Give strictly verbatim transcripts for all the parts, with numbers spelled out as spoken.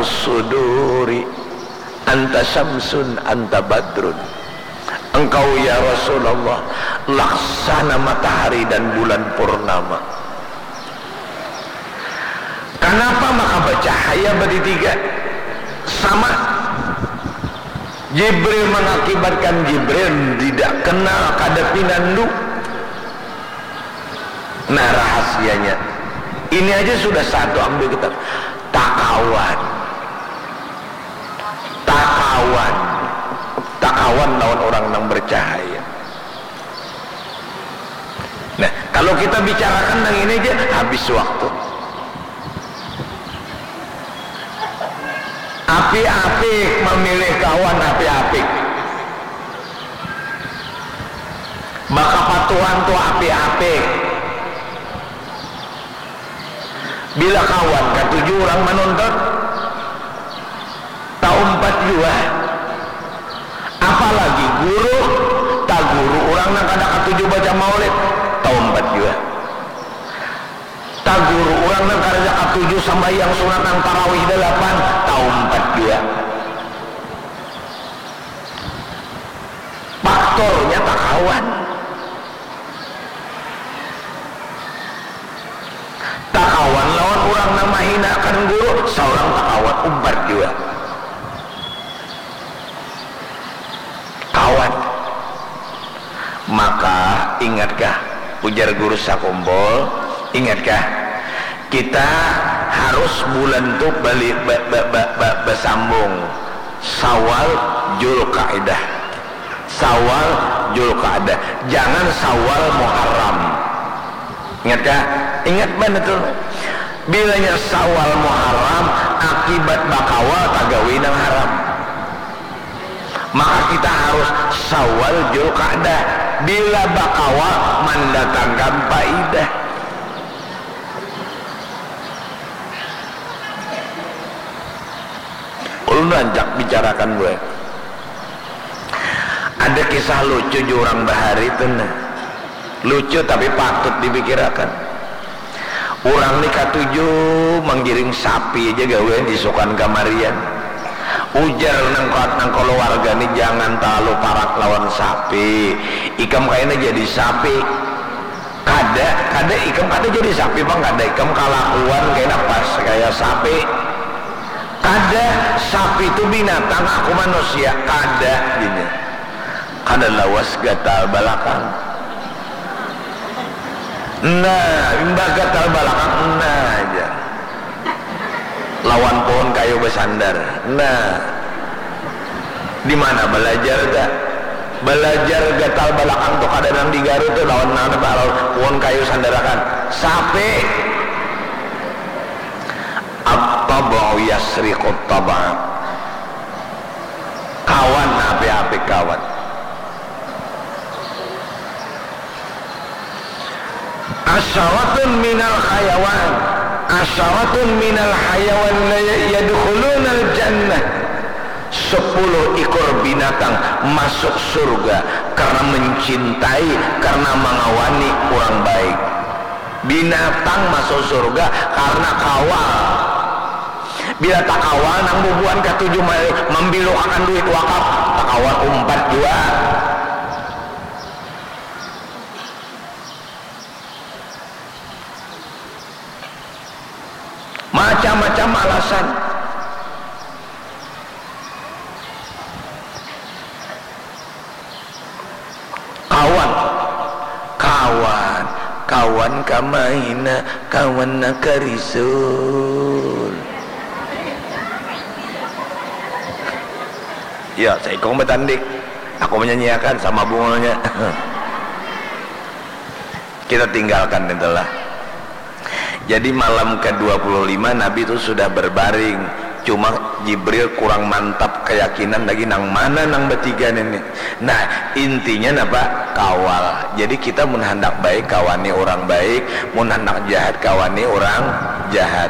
Suduri, anta syamsun, anta badrun. Engkau, ya Rasulullah, laksana matahari dan bulan purnama. Kanapa maka bacahaya batitiga? Sama. Jibril mengakibatkan Jibril tidak kenal, kada pinandu. Nah, rahasianya. Ini aja sudah satu, ambil kita. Takawan. Takawan. Takawan lawan orang nang bercahaya. Nah, kalau kita bicarakan nang ini aja, habis waktu. Apik-apik memilih kawan, apik-apik. Bakapatuhan tu apik-apik. Bila kawan katuju urang manuntut, taumpat jua. Apalagi guru, taguru urang nang kada katuju baca maulid, taumpat jua. Taguru urang nang kada katuju sambahyang sunat nang tarawih dalapan, taumpat jua. Faktornya takawan. Takawan lawan urang nang mahinakan guru, saurang takawan, umpat jua. Kawan. Maka, ingatkah, ujar guru sakumpul, ingatkah, kita harus bulan tu bali-, ba-, ba-, ba-, ba-, basambung. Syawal, Julkaidah. Syawal, Julkaidah. Jangan Syawal, Muharram. Ingat kah? Ingat banar tu. Bilanya Syawal, Muharram, akibat bakawal tagawi nang haram. Maka kita harus Syawal, Julkaidah. Bila bakawal, mandatangkan paidah. Ulun rancak bicarakan buai. Ada kisah lucu jua urang bahari tu nah. Lucu tapi patut dipikirakan. Urang ni katuju manggiring sapi aja gawian isukan kamarian. Ujar nang, nang kaluarga ni, "Jangan talalu parak lawan sapi. Ikam kaina jadi sapi." Kada, kada, ikam kada jadi sapi pang, kada, ikam kalakuan kena pas kaya sapi. Kada, sapi tu binatang, aku manusia, kada, jadinya. Kada lawas gatal balakang. Nah, imbah gatal balakang, nah aja. Lawan pohon kayu basandar. Nah. Di mana balajar ta? Balajar gatal balakang tu kada nang di Garut tu lawan nang di Palau. Pohon kayu sandarakan. Sapi. At-tab'u yasriqut tab'a. Kawan, apik-apik kawan. Asyaratun minal hayawan. Asyaratun minal hayawan la yadkhulunal jannah. Sepuluh ikor binatang masuk surga karena mencintai, karena mangawani urang baik. Binatang masuk surga karena kawal. Bila takawal nang bubuhan katuju ma-, mambilukakan duit wakaf, takawal umpat jua. Macam-macam alasan. Kawan, kawan, kawan kamaina, kawan nakarisul. Ya, saikung batandik. Aku menyanyiakan sama bungulnya. Kita tinggalkan itulah. Jadi, malam kedua puluh lima Nabi tu sudah berbaring. Cuma Jibril kurang mantap keyakinan lagi, nang mana nang betiga nini. Nah, intinya napa? Kawal. Jadi, kita mun handak baik, kawani urang baik. Mun handak jahat, kawani urang jahat.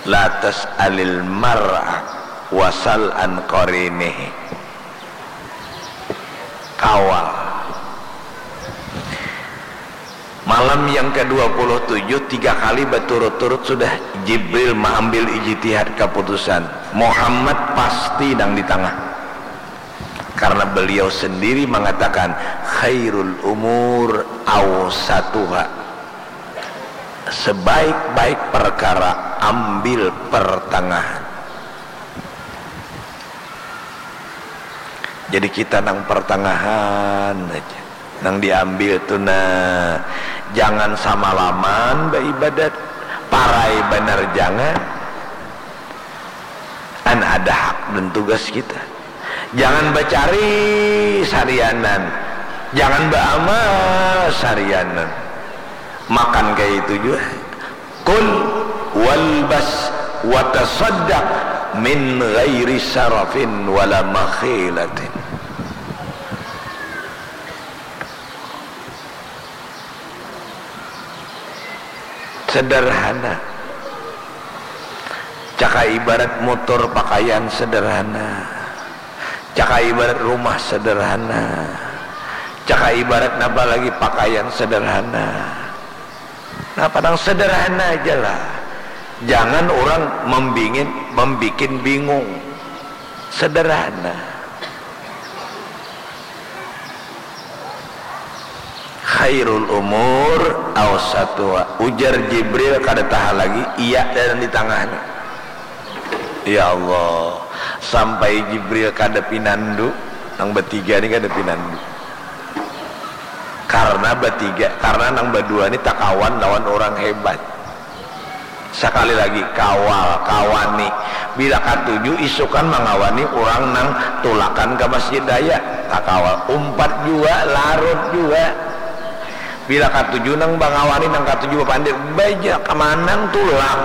La tas'alil mar'a wasal an qarinihi. Kawal. Malam yang kedua puluh tujuh, tiga kali baturut-turut sudah Jibril maambil ijtihad kaputusan, Muhammad pasti nang di tangah. Karena beliau sendiri mangatakan, "Khairul umur awsatuha." Sebaik-baik perkara, ambil pertangahan. Jadi kita nang pertangahan aja. Nang diambil tu nah, jangan samalaman baibadat, parai banar jangan. An ada hak dan tugas kita. Jangan bacari sarianan, jangan baamal sarianan. Makan kaya itu jua. Kul walbas watasaddaq min ghairi sarafin wala makhilatin. Sederhana. Caka ibarat mutur pakaian sederhana. Caka ibarat rumah sederhana. Caka ibarat napa lagi pakaian sederhana. Napa nang sederhana aja lah. Jangan orang membingin, membikin bingung. Sederhana. Khairul umur awsatuha. Ujar Jibril kada tahan lagi, iya dan di tangahnya. Ya Allah, sampai Jibril kada pinandu, nang batiga ni kada pinandu. Karena batiga, karena nang badua ni takawan lawan orang hebat. Sakali lagi, kawal, kawani. Bila katuju isukan mangawani urang nang tulakan ka Masjid Raya, takawal. Umpat jua, larut jua. Bila katuju nang mangawani, nang katuju bapandir, baja ka manang tulak.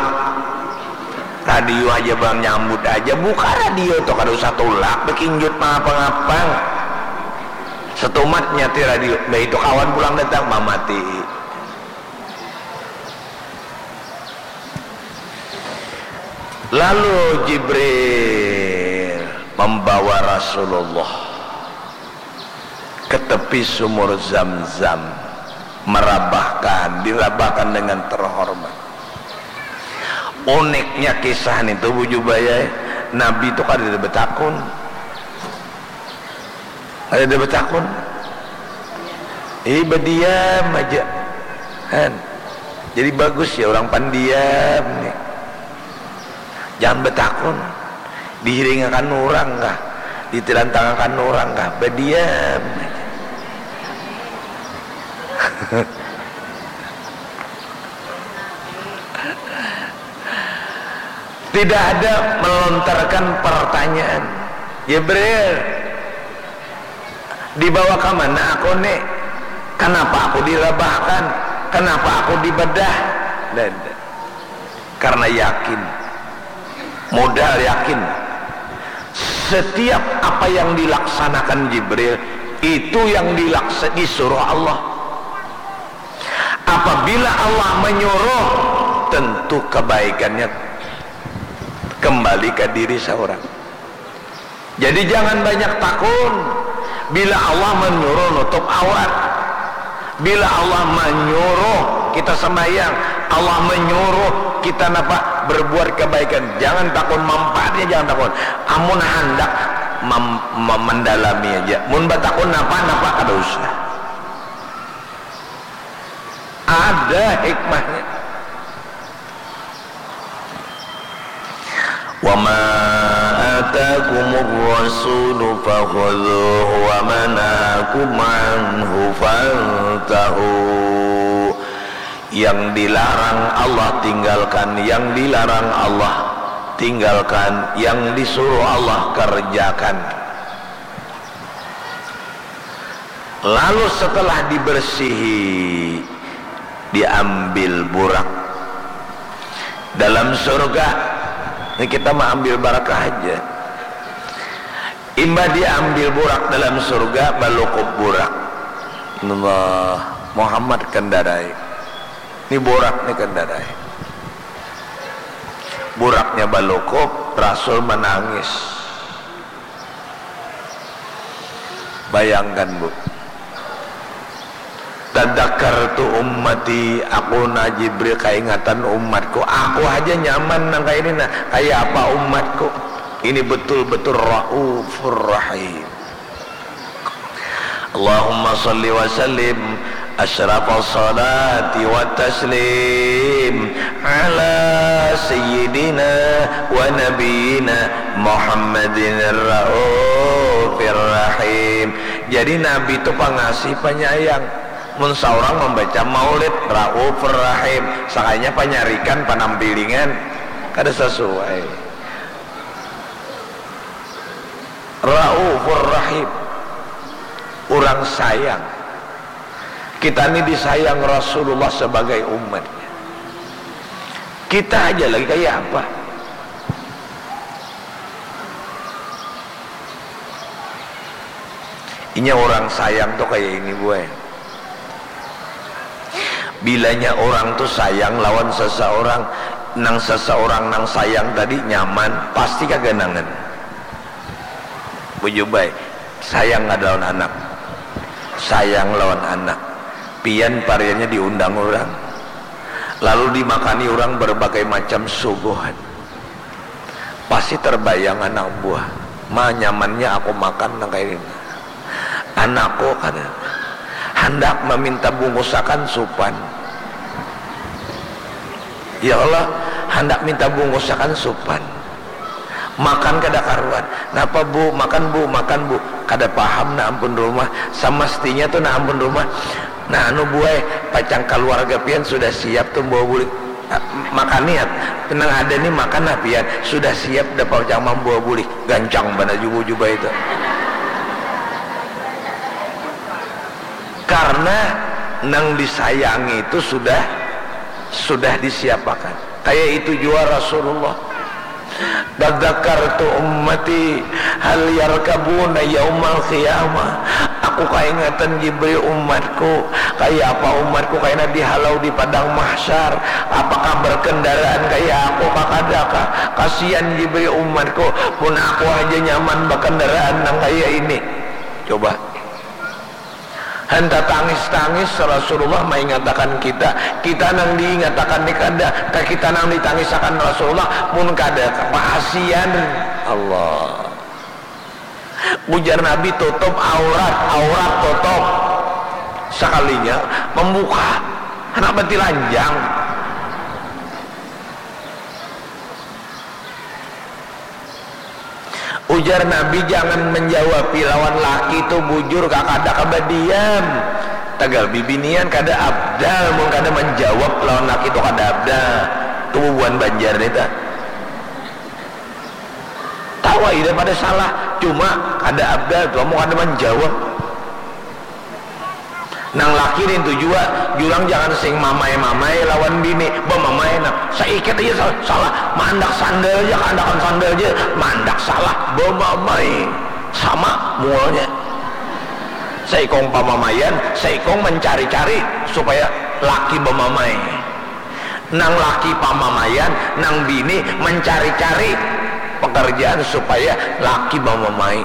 Radio haja banyambut haja, buka radio tu kada usah tulak bakinjut mangapa-ngapa. Setumatnya ti radio, mbah itu kawan pulang datang, mamatii. Lalu Jibril mambawa Rasulullah ke tepi sumur Zamzam, marabahkan, dirabahkan dengan terhormat. Uniknya kisah nitu, Bu Jubaya, Nabi tu kadada batakun. Ada, ada batakun. Ih, badiam aja. Kan? Jadi bagus ya orang pandiam ni. Jangan batakun. Dihiringakan orang kah? Ditilantangakan orang kah? Badiam aja. Tidak ada melontarkan pertanyaan. Jibril, dibawa ka mana aku ni? Kanapa aku dirabahkan? Kanapa aku dibedah? Nda ada. Karena yakin. Modal yakin. Setiap apa yang dilaksanakan Jibril, itu yang dilaksa-, disuruh Allah. Apabila Allah menyuruh, tentu kebaikannya kembali ke diri seorang. Jadi jangan banyak takun. Bila Allah menyuruh nutup aurat, bila Allah menyuruh kita sembahyang, Allah menyuruh kita napa, berbuat kebaikan, jangan takun manfaatnya, jangan takun. Amun handak mem-, mem-, mendalami aja. Mun batakun napa-napa kada usah. Ada hikmahnya. Wa ma atakumur rasulu fakhudhuhu wa ma nahakum anhu fantahu. Yang dilarang Allah tinggalkan, yang dilarang Allah tinggalkan, yang disuruh Allah kerjakan. Lalu setelah dibersihi, diambil burak. Dalam surga, ini kita mah ambil barakah aja. Imbah diambil burak dalam surga, balukup burak. Allah, Muhammad kendarai. Ini burak ni kendarai. Buraknya balukup, Rasul menangis. Bayangkan, Bu. Tadzakartu ummati, aku nah Jibril kaingatan umatku. Aku haja nyaman nang kaya ini nah. Kaya apa umatku? Ini betul-betul raufur rahim. Allahumma salli wa sallim asyrafas salati wa taslim ala sayyidina wa nabiyina Muhammadin raufir rahim. Jadi Nabi tu pangasih panyayang. Mun saurang mambaca maulid, raufur rahim, sakalinya panyarikan, panampilingan, kada sasuai. Raufur rahim, urang sayang. Kita ni disayang Rasulullah sebagai umatnya. Kita aja lagi kaya apa? Inya urang sayang tu kaya ini, buai. Bilanya urang tu sayang lawan seseorang, nang seseorang nang sayang tadi nyaman, pasti kaganangan. Bujur bae, sayang kada lawan anak? Sayang lawan anak. Pian pariannya diundang urang, lalu dimakani urang berbagai macam suguhan. Pasti terbayang anak buah, ma nyamannya aku makan nang kaya ini. Anakku kada handak meminta bungusakan supan. Ya Allah, handak minta bungusakan supan. Makan kada karuan. Napa bu, makan bu, makan bu. Kada paham nah ampun rumah. Samastinya tu nah ampun rumah. Nah anu buai, pacang kaluarga pian sudah siap tu bawa bulik. Makan niat, nang ada ni makan lah pian, sudah siap dapat cang mambawa bulih, gancang banar jubah-jubah itu. Karena nang disayangi itu sudah sudah disiapakan. Kayak itu jua Rasulullah. Tadzakartu ummati hal yarkabuna yaumal qiyamah. Aku kaingatan Jibril umatku, kaya apa umatku kaina dihalau di padang mahsyar, apakah berkendaraan kaya aku kah kadakah? Kasian Jibril umatku, mun aku haja nyaman bakendaraan nang kaya ini. Coba. Han tatangis-tangis Rasulullah maingatakan kita, kita nang diingatakan ni kada, kah kita nang ditangisakan Rasulullah, mun kada, kasian. Allah. Ujar Nabi, tutup aurat, aurat tutup. Sakalinya mambuka, handak batilanjang. Ujar Nabi, jangan menjawabi lawan laki tu bujur, kakada ka badiam. Tagal bibinian kada abdal mun kada manjawab lawan laki tu, kada abdal. Tu bubuhan Banjar ni tah. Tahu ai dah pada salah, cuma kada abdal tu amun kada manjawab. Nang laki nintu jua, jurang jangan sing mamai-mamai lawan bini, bamamai nah, saikit aja salah, salah, maandak sandal ja, kaandakan sandal ja, maandak salah, bamamai, sama mualnya. Saikung pamamaian, saikung mancari-cari supaya laki bamamai. Nang laki pamamaian, nang bini mancari-cari pekerjaan supaya laki bamamai.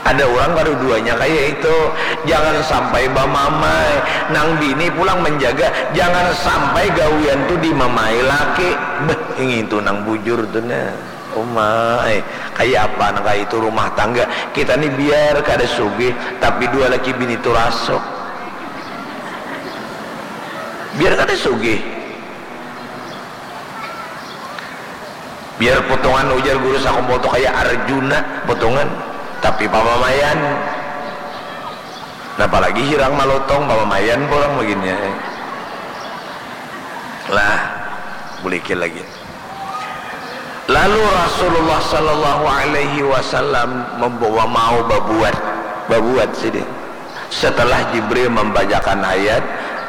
Ada urang kaduduanya kaya itu, jangan sampai bamamai, nang bini pulang manjaga, jangan sampai gawian tu dimamai laki. Beh, ngintu nang bujur tu nah. Uma ai, kaya apa nang kaya itu rumah tangga. Kita ni biar kada sugih, tapi dua laki bini tu rasuk. Biar kada sugih. Biar potongan ujar guru sakumpul tu kaya Arjuna potongan, tapi pamamaian. Napa lagi hirang malotong, pamamaian pulang bagini ai. Lah, bulikil lagi. Lalu Rasulullah sallallahu alaihi wasallam membawa mau babuat, babuat sidin. Setelah Jibril membacakan ayat,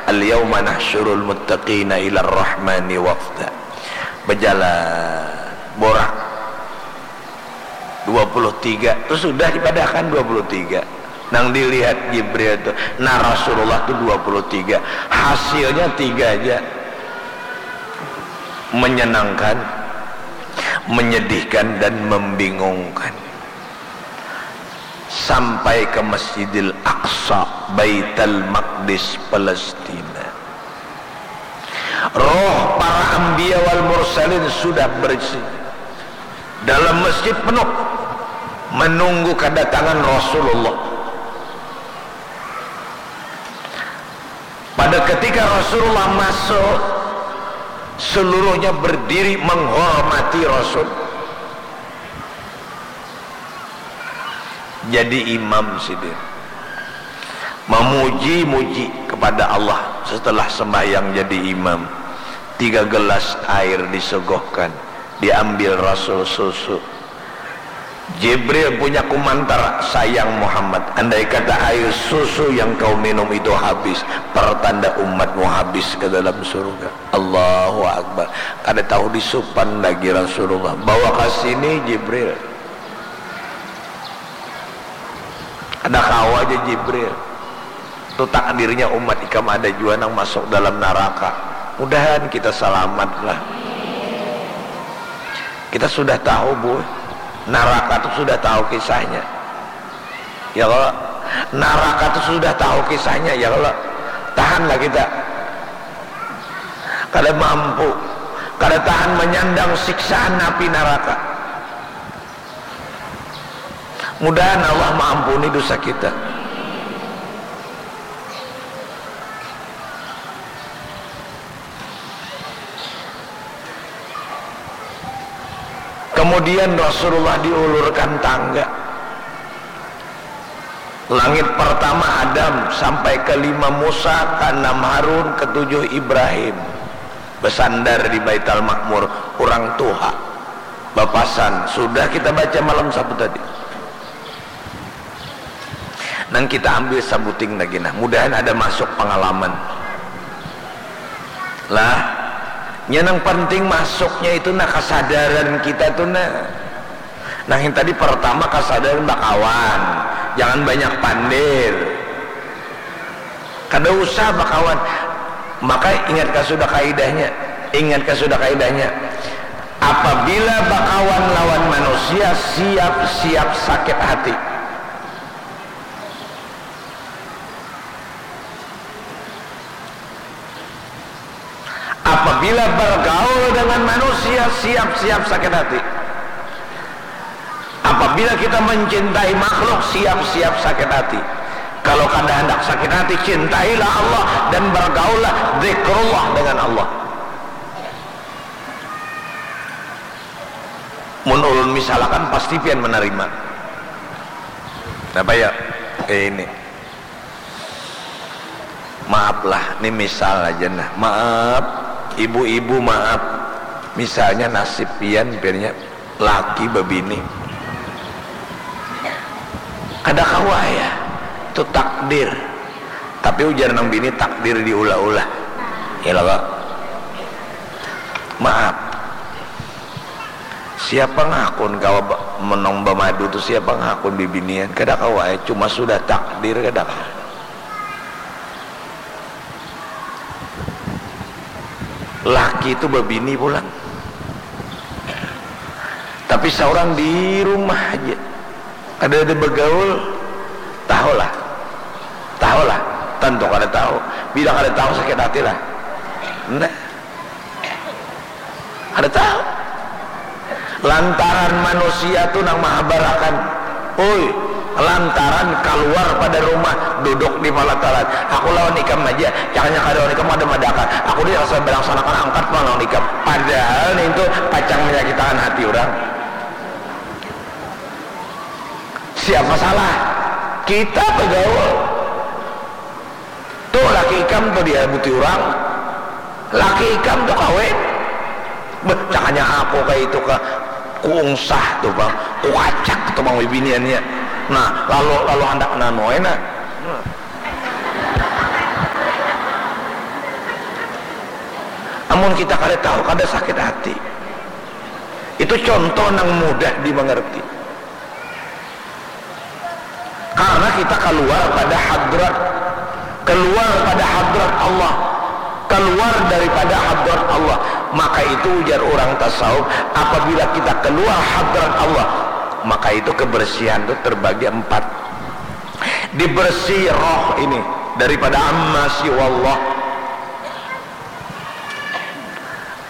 "Al-yauma nahsyurul muttaqina ilar rahmani wafda." Berjalan, borak. Dua puluh tiga tu sudah dipadahkan dua puluh tiga. Nang dilihat Jibril tu, nah Rasulullah tu dua puluh tiga. Hasilnya tiga aja. Menyenangkan, menyedihkan, dan membingungkan. sampai ke Masjidil Aqsa, Baitul Maqdis, Palestina. Roh para anbiya wal mursalin sudah berisi. Dalam masjid penuh menunggu kedatangan Rasulullah. Pada ketika Rasulullah masuk, seluruhnya berdiri menghormati Rasul. Jadi imam sidin. Memuji-muji kepada Allah setelah sembahyang jadi imam. Tiga gelas air disogohkan, diambil Rasul susu. Jibril punya kumantar, "Sayang Muhammad, andai kata air susu yang kau minum itu habis, pertanda umatmu habis ke dalam surga." Allahu Akbar. Kada tahu disupan lagi Rasulullah. "Bawa ke sini, Jibril." Kada kawa aja Jibril. Tu takdirnya umat ikam ada jua nang masuk dalam naraka. Mudahan kita salamat lah. Kita sudah tahu, Bu. Naraka tu sudah tahu kisahnya. Ya kalo? Naraka tu sudah tahu kisahnya, ya kalo? Tahanlah kita. Kada mampu. Kada tahan manyandang siksaan api naraka. Mudahan Allah maampuni dosa kita. Kemudian Rasulullah diulurkan tangga. Langit pertama Adam, sampai ke lima Musa, ke enam Harun, ke tujuh Ibrahim. Besandar di Baitul Makmur, urang tuha. Bapasan, sudah kita baca malam Sabtu tadi. Nang kita ambil sabuting lagi nah, mudahan ada masuk pengalaman. Lah, nya nang penting masuknya itu nah kesadaran kita tuh nah. Nang yang tadi pertama kesadaran bakawan, jangan banyak pandir. Kada usah bakawan. Maka ingatkah sudah kaidahnya? Ingatkah sudah kaidahnya? Apabila bakawan lawan manusia, siap-siap sakit hati. Apabila bergaul dengan manusia, siap-siap sakit hati. Apabila kita mencintai makhluk, siap-siap sakit hati. Kalau kada handak sakit hati, cintailah Allah dan bergaullah, zikrullah dengan Allah. Mun ulun misalakan, pasti pian manarima. Napa ya? Kaya ini. Maaf lah, ni misal aja nah. Maaf, ibu-ibu maaf. Misalnya nasib pian, piannya laki babini. Kada kawa ya, tu takdir. Tapi ujar nang bini, takdir diulah-ulah. Ya lah, Kak. Maaf. Siapa ngakun kawa ba-, menong bamadu tu, siapa ngakun bibinian? Kada kawa ya, cuma sudah takdir, kada kawa. Laki tu babini pulang. Tapi saurang di rumah aja. Kada ada bagaul. Tahulah. Tahulah. Tentu kada tahu. Bila kada tahu, sakit hati lah. Nah. Kada tahu. Lantaran manusia tu nang mahabarakan. Ui, lantaran kaluar pada rumah, duduk di palataran. Aku lawan ikam aja, jangan yang kada lawan ikam kada madakan. Aku ni rasa balaksanakan angkat pulang lawan ikam. Padahal nintu pacang manyakitakan hati urang. Siapa salah? Kita bagaul. Tuh, laki ikam tuh dihabuti urang. Laki ikam tuh kawin. Beh, cakanya aku kayak itu ka, kuungsah tuh, Bang. Kukacak tuh, Bang, bibiniannya. Nah, lalu, lalu handak nanu ai, nah. Amun kita kada tahu, kada sakit hati. Itu contoh nang mudah dimengerti. Karena kita keluar pada hadrat, keluar pada hadrat Allah, keluar daripada hadrat Allah. Maka itu ujar orang tasawuf, apabila kita keluar hadrat Allah, maka itu kebersihan itu terbagi empat. Dibersi roh ini daripada amma siwallah.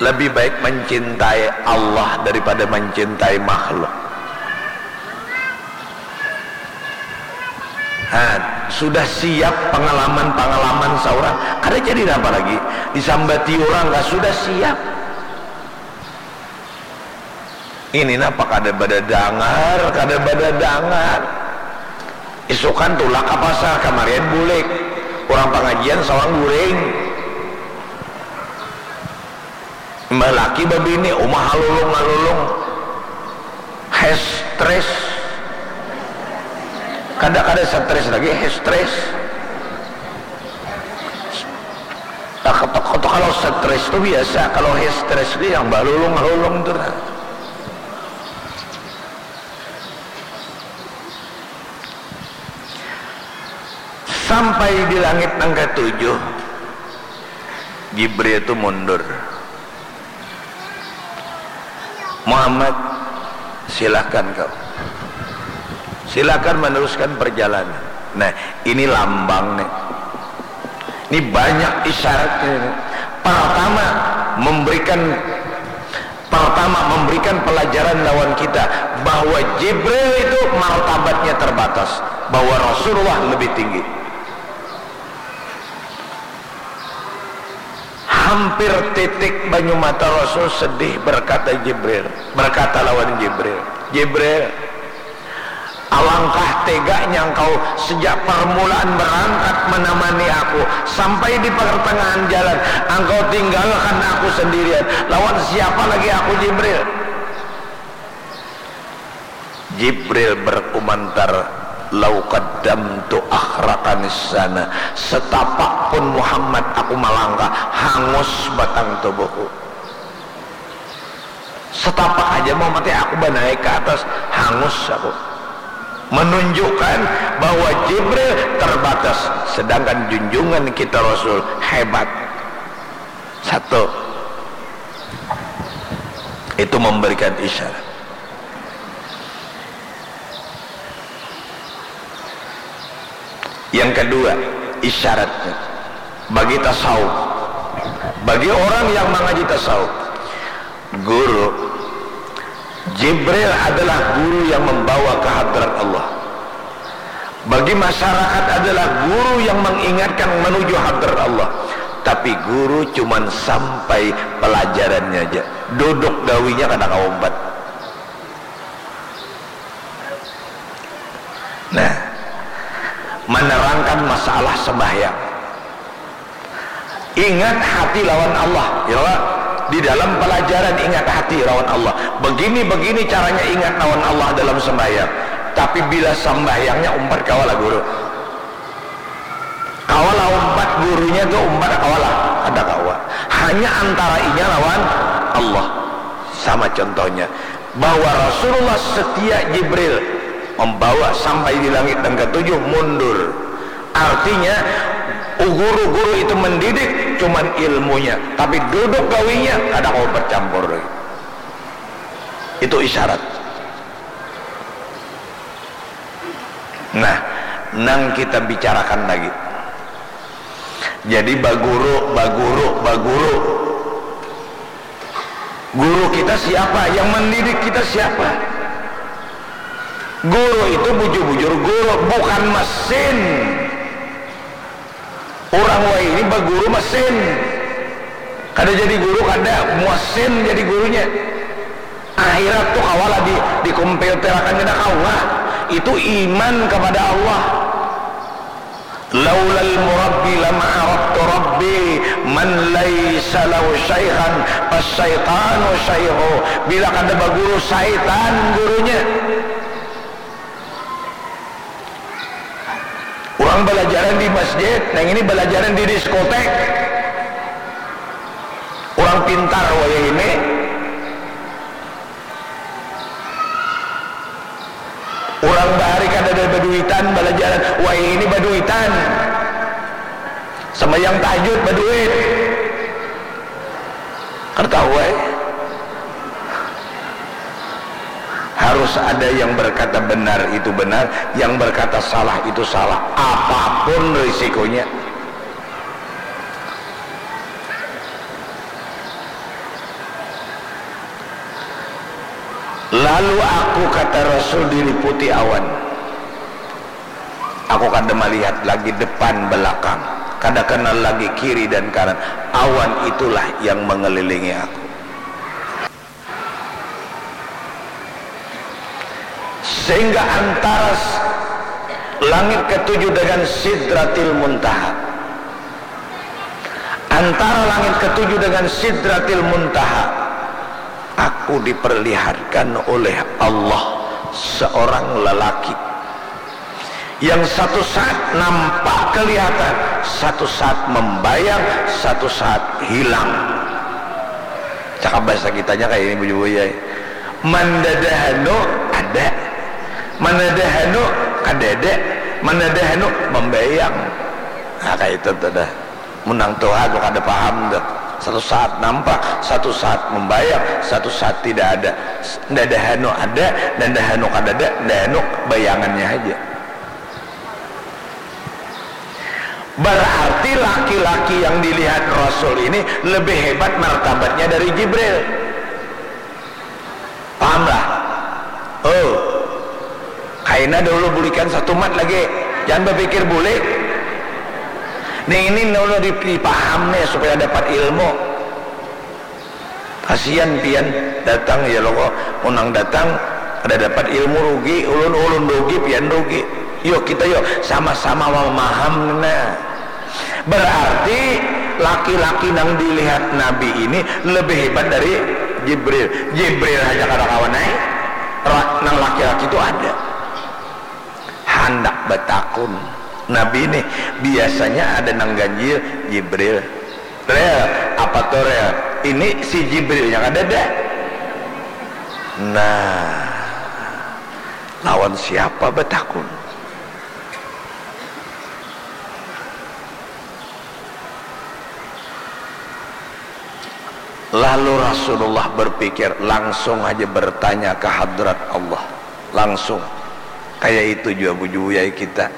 Lebih baik mencintai Allah daripada mencintai makhluk. Nah, sudah siap pengalaman-pengalaman seorang, kada jadi apa lagi, disambati orang kah sudah siap. Ini napa kada badadangar, kada badadangar. Isukan tulak ka pasar, kamarian bulik. Urang pangajian sawang guring. Imbah laki babini, uma halulung-halulung. Hestres. Kada, kada stres lagi, hestres. Nah, ketok-ketok kalau stres tu biasa, kalau hestres tu yang balulung-lulung tu nah. Sampai di langit nang ketujuh, Jibril tu mundur. Muhammad, silakan kau. Silakan meneruskan perjalanan. Nah, ini lambang nih. Ini banyak isyaratnya ini. Pertama, memberikan pertama memberikan pelajaran lawan kita bahwa Jibril itu martabatnya terbatas, bahwa Rasulullah lebih tinggi. Hampir titik banyu mata Rasul sedih, berkata Jibril, berkata lawan Jibril, "Jibril, alangkah teganya engkau sejak permulaan berangkat menemani aku sampai di pertengahan jalan, engkau tinggalkan aku sendirian. Lawan siapa lagi aku, Jibril?" Jibril berkomentar, "Lau qaddamtu akhraqanis sana, setapak pun Muhammad aku malangkah, hangus batang tubuhku. Setapak aja Muhammad, aku banaik ke atas, hangus aku." Menunjukkan bahwa Jibril terbatas, sedangkan junjungan kita Rasul hebat. Satu, itu memberikan isyarat. Yang kedua, isyaratnya bagi tasawuf, bagi orang yang mengaji tasawuf, guru, Jibril adalah guru yang membawa ke hadrat Allah. Bagi masyarakat adalah guru yang mengingatkan menuju hadrat Allah. Tapi guru cuman sampai pelajarannya aja. Duduk gawinya kada kaumpat. Nah, menerangkan masalah sembahyang. Ingat hati lawan Allah, ya. Di dalam pelajaran ingat hati lawan Allah. Begini-begini caranya ingat lawan Allah dalam sembahyang. Tapi bila sembahyangnya umpat kawa lah guru. Kawa lah umpat gurunya tu, umpat kawa lah. Kada kawa. Hanya antara inya lawan Allah. Sama contohnya. Bahwa Rasulullah setia Jibril membawa sampai di langit yang ketujuh mundur. Artinya, guru-guru itu mendidik cuman ilmunya, tapi duduk gawinya kada mau bercampur lagi. Itu isyarat. Nah, nang kita bicarakan lagi. Jadi baguru, baguru, baguru. Guru kita siapa? Yang mendidik kita siapa? Guru itu bujur-bujur guru, bukan mesin. Urang wahini baguru mesin. Kada jadi guru, kada, mesin jadi gurunya. Akhirat tu kawa lah di, dikomputerkan, kada kawa. Itu iman kepada Allah. Laulal murabbi lama araftu rabbi, man laisa lahu syaikhan fasyaitanu syaihu. Bila kada baguru, syaitan gurunya. Urang balajaran di masjid, nang ini balajaran di diskotek. Urang pintar wayah ini. Urang bahari kadada baduitan balajaran, wayah ini baduitan. Sambayang tahajud baduit. Kada tahu ai. Ha, Harus ada yang berkata benar itu benar, yang berkata salah itu salah, apapun risikonya. Lalu aku, kata Rasul, diliputi awan. Aku kada melihat lagi depan belakang, kada kenal lagi kiri dan kanan. Awan itulah yang mengelilingi aku. Sehingga antara s-, langit ketujuh dengan Sidratil Muntaha, antara langit ketujuh dengan Sidratil Muntaha, aku diperlihatkan oleh Allah seorang lelaki yang satu saat nampak kelihatan, satu saat membayang, satu saat hilang. Cakap bahasa kitanya kayak ini, bujur, ya. Mandadahanu ada, mandadahanu kadada, mandadahanu membayang. Nah, kayak itu tuh dah. Mun nang tuha tu kada paham tu. Satu saat nampak, satu saat membayang, satu saat tidak ada. Ndada hanu ada, ndada hanu kadada, ndada hanu bayangannya haja. Berarti laki-laki yang dilihat Rasul ini lebih hebat martabatnya dari Jibril. Paham lah? Oh. Kaina dahulu bulikan satu mat lagi. Jangan berpikir bulik. Nih, ini dahulu dipaham nih supaya dapat ilmu. Kasihan pian datang ya lo kok. Unang datang ada dapat ilmu rugi, ulun-ulun rugi, pian rugi. Yuk kita yuk sama-sama memaham nah. Berarti laki-laki nang dilihat Nabi ini lebih hebat dari Jibril. Jibril aja kada kawan ai. Ra-, nang laki-laki itu ada. Handak batakun. Nabi ini biasanya ada nang ganjil, Jibril. Rel, apa tuh rel? Ini si Jibril yang ada dah. Nah, lawan siapa batakun? Lalu Rasulullah berpikir, langsung aja bertanya ke hadrat Allah. Langsung. Kayak itu juga bujuyai kita.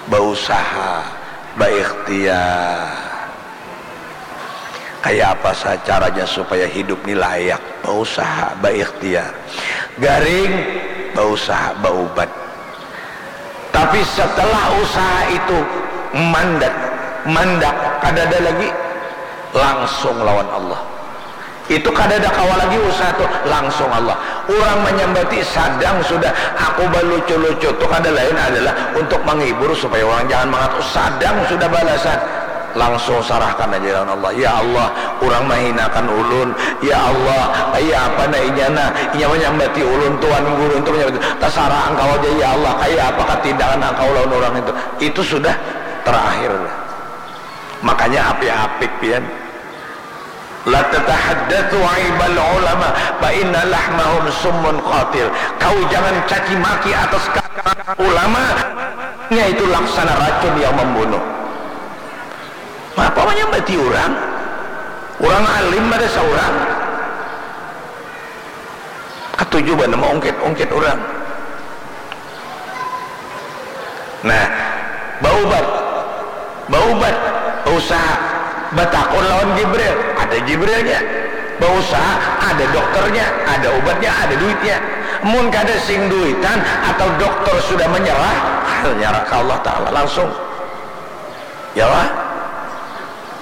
Bausaha, baikhtiar. Kayak apa sa-, caranya supaya hidup ni layak? Bausaha, baikhtiar. Garing, bausaha, baubat. Tapi setelah usaha itu mandat, mandak, kadada lagi, langsung lawan Allah. Itu kadada kawa lagi usaha tu, langsung Allah. Urang manyambati sadang sudah, aku balucu-lucu tu kada lain adalah untuk manghibur supaya urang jangan mangatuk. Sadang sudah balasan, langsung sarahkan aja lawan Allah. Ya Allah, urang mahinakan ulun. Ya Allah, kaya apa nah inya nah, inya manyambati ulun, Tuan Guru tu manyambati. Tasarah Angkau aja ya Allah, kaya apa katindakan Angkau lawan urang itu. Itu sudah terakhir. Makanya apik-apik pian. La tatahaddatsu aibal ulama fa inna lahmahum summun qatil. Kau jangan caci maki atas ka-, ulama, nya itu laksana racun yang membunuh. Ngapa manyambati urang? Urang alim ada saurang. Katuju banar maungkit-ungkit urang. Nah, baubat, baubat, bausaha, batakun lawan Jibril, ada Jibrilnya. Bausaha, ada dokternya, ada ubatnya, ada duitnya. Mun kada sing duitan atau dokter sudah menyerah, nyerah ke Allah Ta'ala langsung. Ya lah,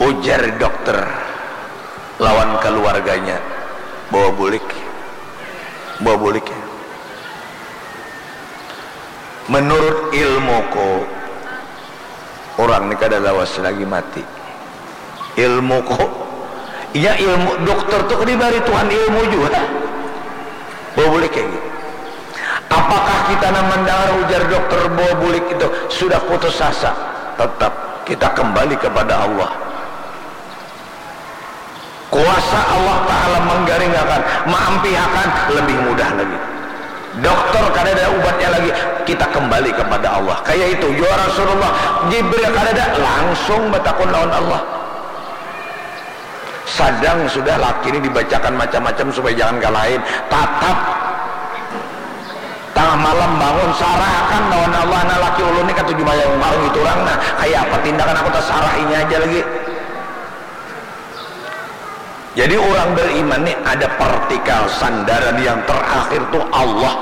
ujar dokter lawan keluarganya, bawa bulik, bawa bulik. Menurut ilmuku, orang ni kada lawas lagi mati. Ilmuku, iya ilmu dokter tu dibari Tuhan ilmu juga. Bawa bulik kayak gitu. Apakah kita nang mendengar ujar dokter bawa bulik itu sudah putus asa? Tetap kita kembali kepada Allah. Kuasa Allah Ta'ala menggaringakan, maampihakan, lebih mudah lagi. Dokter kada ada ubatnya lagi, kita kembali kepada Allah. Kayak itu, ya Rasulullah, Jibril kada ada, langsung batakun lawan Allah. Sadang sudah laki ini dibacakan macam-macam supaya jangan kalahin. Tatap Tangah malam bangun, sarahakan lawan Allah, nah laki ulun ni katuju maya ungkar ngitu urang, nah kaya apa tindakan aku tasarah inya aja lagi. Jadi urang beriman ni ada partikal sandaran yang terakhir tu Allah.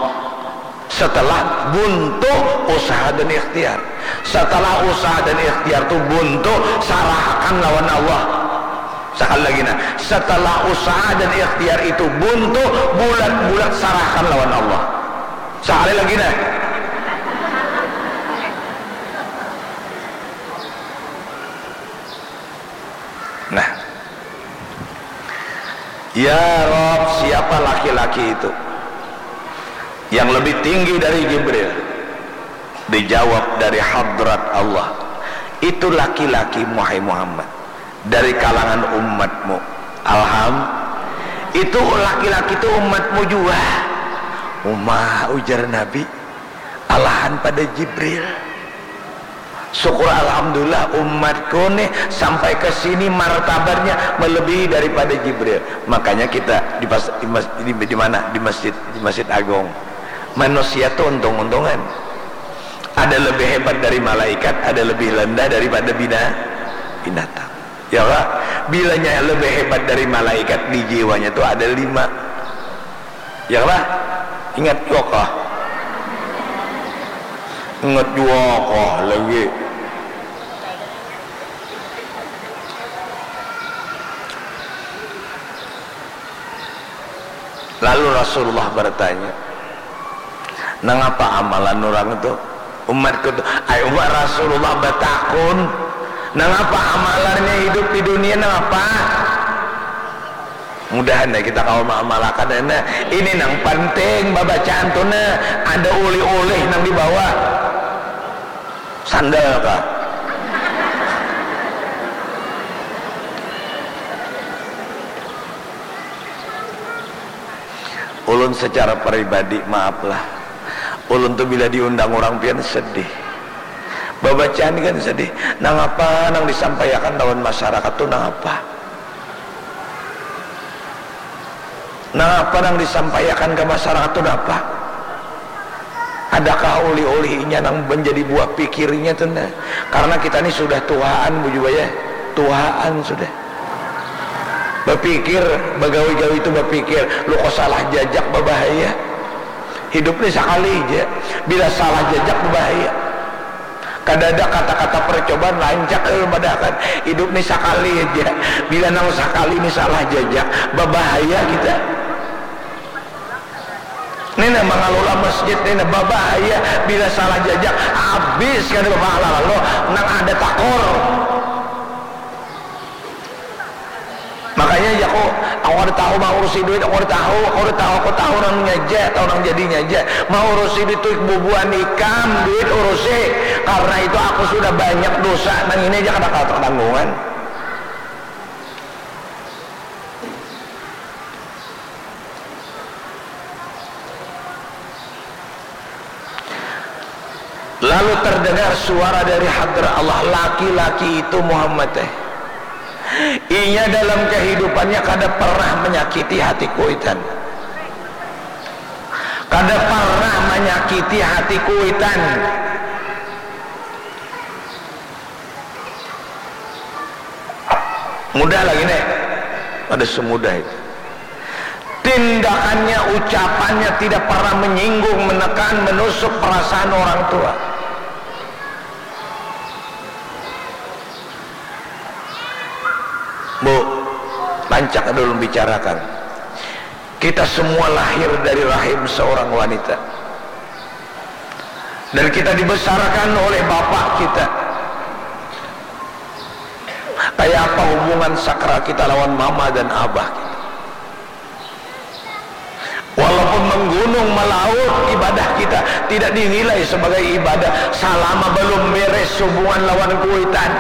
Setelah buntu usaha dan ikhtiar. Setelah usaha dan ikhtiar tu buntu, sarahakan lawan Allah. Sekali lagi nah, setelah usaha dan ikhtiar itu buntu, bulat-bulat sarahakan lawan Allah. Sekali lagi nah. Nah. Ya Rob, siapa laki-laki itu yang lebih tinggi dari Jibril? Dijawab, dari hadrat Allah. Itu laki-laki, wahai Muhammad, dari kalangan umatmu. Alham, itu laki-laki itu umatmu jua. Uma, ujar Nabi, alahan pada Jibril. Syukur alhamdulillah umatku nih sampai ke sini martabatnya melebihi daripada Jibril. Makanya kita di, pas, di, mas, di, di mana? Di masjid, di Masjid Agung. Manusia tuh untung-untungan. Ada lebih hebat dari malaikat, ada lebih rendah daripada bina, binatang. Ya lah, bilanya lebih hebat dari malaikat, di jiwanya tuh ada lima. Ya lah, ingat jua kah? Ingat jua kah lagi? Lalu Rasulullah bertanya, "Nangapa amalan orang itu?" Umatku tu, ai umat Rasulullah batakun, nangapa amalannya hidup di dunia, nangapa? Mudahan ya kita kawa maamalakan ya, nah. Ini nang penting babacaan tu, nah. Ada ulih-ulih nang dibawa. Sandal kah? Ulun secara pribadi, maaf lah, ulun tu bila diundang urang pian sedih. Babacaan kan sedih. Nangapa nang disampaiakan lawan masyarakat tu nangapa? Nangapa nang disampaiakan ka masyarakat tu napa? Adakah ulih-ulih inya nang menjadi buah pikirnya tu nah? Karena kita ni sudah tuhaan, bujur baya, tuhaan sudah. Bapikir, bagawi-gawi tu bapikir, lu kok salah jajak babahaya. Hidup ni sakali ja, bila salah jajak babahaya. Kadada kata-kata percobaan, rancak ulun padahakan. Hidup ni sakali ja, bila nang sakali ni salah jajak, babahaya kita. Ni nah mangalulah masjid ni nah babahaya, bila salah jajak habis kada bapahala lalu nang ada takor. Makanya jaku, aku kada tahu maurusi duit, aku kada tahu, aku kada tahu, aku tahu nangnya ja, tahu nang jadinya ja. Maurusi duit tu bubuhan ikam, duit urusi. Karena itu aku sudah banyak dosa, nang ini aja kada kawa tatanggungan. Lalu terdengar suara dari hadrat Allah, laki-laki itu Muhammad teh. Inya dalam kehidupannya kada pernah menyakiti hati kuitan. Kada pernah menyakiti hati kuitan. Mudah lagi nih. Ada semudah itu. Tindakannya, ucapannya tidak pernah menyinggung, menekan, menusuk perasaan orang tua. Bu, rancak dulu bicarakan. Kita semua lahir dari rahim seorang wanita. Dan kita dibesarkan oleh bapak kita. Kayak apa hubungan sakral kita lawan mama dan abah kita? Walaupun menggunung melaut, ibadah kita tidak dinilai sebagai ibadah selama belum beres hubungan lawan kuitan.